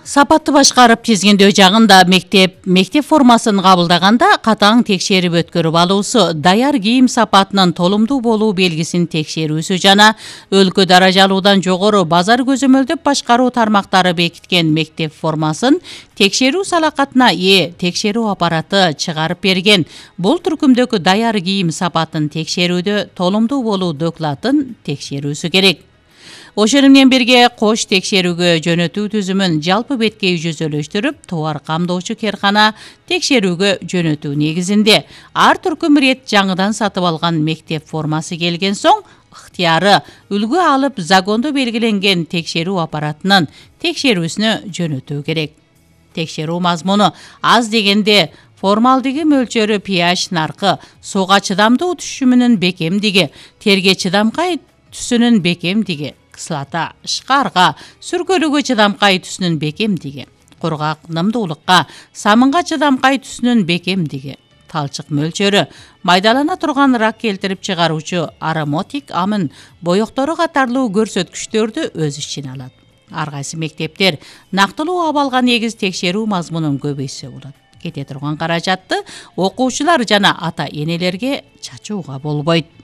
Сапатты башкарып тизгиндөө жагында мектеп формасын кабылдаганда катаң текшерип өткөрүп алуусу, даяр кийим сапатынын толумдуу болуу белгисин текшерүүсү жана өлкө даражалуудан жогору базар көзөмөлдөп башкаруу тармактары бекиткен мектеп формасын текшерүү салакатына ээ текшерүү аппараты чыгарып берген. Бул түркүмдөгү даяр кийим сапатын текшерүүдө толумдуу болуу докладын текшерүүсү керек. Ошону менен бирге кош текшерүүгө жөнөтүү түзүмүн жалпы беткей жүзөлөштүрүп, товар камдоочу керкана текшерүүгө жөнөтүү негизинде ар түркүм рет жаңыдан сатып алган мектеп формасы келген соң ыктыяры үлгү алып закондо белгиленген текшерүү аппаратынын текшерүүсүнө жөнөтүү керек. Текшерүү мазмуну аз дегенде формалдыгы мөлчөрү pH наркы, сууга чыдамдуу түшүмүнүн бекемдиги, терге чыдамкай түсүнүн бекемдиги, кыслата, шкарга, сүркөлүүгө чыдамкай түсүнүн бекемдиги, кургак нымдуулукка, самынга чыдамкай түсүнүн бекемдиги, талчык мөлчөрү, майдалана турган рак келтирип чыгаруучу аромотик амын боектору катарлуу көрсөткүчтөрдү өз ичине алат. Ар кайсы мектептер нактылуу абалга негиз текшерүү мазмунун көбөйтсө болот. Кете турган каражатты окуучулар жана ата энелерге чачууга болбойт.